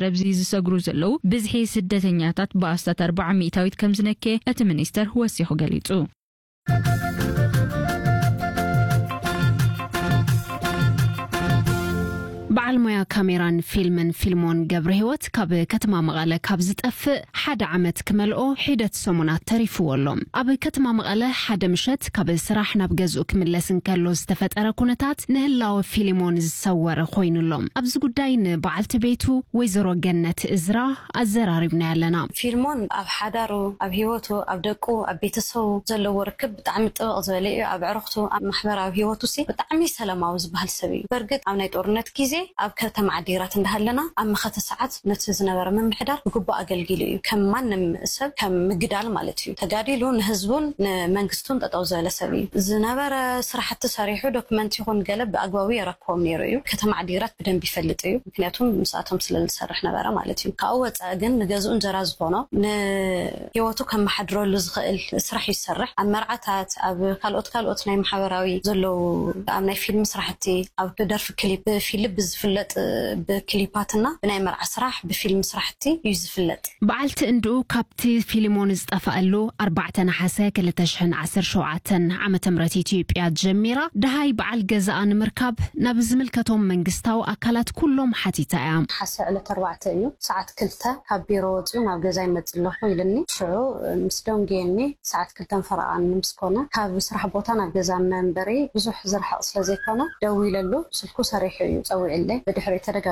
ረብዚ ዝሰግሩ ዘለዉ ብዝሒ ስደተኛታት ብኣስታት ኣርብዓ ሚእታዊት ከም ዝነከየ እቲ ሚኒስተር ወሲኹ ገሊጹ። በዓል ሞያ ካሜራን ፊልምን ፊልሞን ገብረ ህይወት ካብ ከተማ መቐለ ካብ ዝጠፍእ ሓደ ዓመት ክመልኦ ሒደት ሰሙናት ተሪፍዎ ኣሎ። ኣብ ከተማ መቐለ ሓደ ምሸት ካብ ስራሕ ናብ ገዝኡ ክምለስ እንከሎ ዝተፈጠረ ኩነታት ንህላወ ፊልሞን ዝሰወረ ኮይኑሎ። ኣብዚ ጉዳይ ንበዓልቲ ቤቱ ወይዘሮ ገነት እዝራ ኣዘራሪብና ኣለና። ፊልሞን ኣብ ሓዳሩ፣ ኣብ ህይወቱ፣ ኣብ ደቁ፣ ኣብ ቤተሰቡ ዘለዎ ርክብ ብጣዕሚ ጥብቕ ዝበለ እዩ። ኣብ ዕርኽቱ፣ ኣብ ማሕበራዊ ህይወቱ ሲ ብጣዕሚ ሰላማዊ ዝበሃል ሰብ እዩ። በርግጥ ኣብ ናይ ጦርነት ግዜ ኣብ ከተማ ዓዲግራት እንዳሃለና ኣብ መኸተ ሰዓት ነቲ ዝነበረ ምምሕዳር ብግቡእ ኣገልጊሉ እዩ። ከም ማንም ሰብ ከም ምግዳል ማለት እዩ። ተጋዲሉ ንህዝቡን ንመንግስቱን ጠጠው ዝበለ ሰብ እዩ። ዝነበረ ስራሕቲ ሰሪሑ ዶክመንት ይኹን ገለ ብኣግባቡ የረክቦም ነይሩ እዩ። ከተማ ዓዲግራት ብደንብ ይፈልጥ እዩ። ምክንያቱም ምስኣቶም ስለ ዝሰርሕ ነበረ ማለት እዩ። ካብኡ ወፃኢ ግን ንገዝኡ እንጀራ ዝኾኖ ንህይወቱ ከመሓድረሉ ዝኽእል ስራሕ ይሰርሕ። ኣብ መርዓታት፣ ኣብ ካልኦት ካልኦት ናይ ማሕበራዊ ዘለዉ ኣብ ናይ ፊልም ስራሕቲ፣ ኣብ ደርፊ ክሊፕ፣ ብፊልም ብዝፍለጥ ብክሊፓትና ብናይ መርዓ ስራሕ ብፊልም ስራሕቲ እዩ ዝፍለጥ። በዓልቲ እንድኡ ካብቲ ፊልሞን ዝጠፋኣሉ ኣርባዕተ ነሓሰ ክልተ ሽሕን ዓሰርተ ሸውዓተን ዓመተ ምህረት ኢትዮጵያ ጀሚራ ደሃይ በዓል ገዛኣ ንምርካብ ናብ ዝምልከቶም መንግስታዊ ኣካላት ኩሎም ሓቲታ እያ። ሓሰ ዕለት ኣርባዕተ እዩ፣ ሰዓት ክልተ ካብ ቢሮ ወፂኡ ናብ ገዛ ይመፅእ ኣለኹ ኢልኒ። ሽዑ ምስ ደንጉየኒ ሰዓት ክልተን ፈረቓን ምስ ኮነ ካብ ስራሕ ቦታ ናብ ገዛ መንበሪ ብዙሕ ዝርሕቕ ስለ ዘይኮነ ደዊለሉ ስልኩ ሰሪሑ እዩ ፀዊዕለይ። ብድሕሪኡ ተደጋ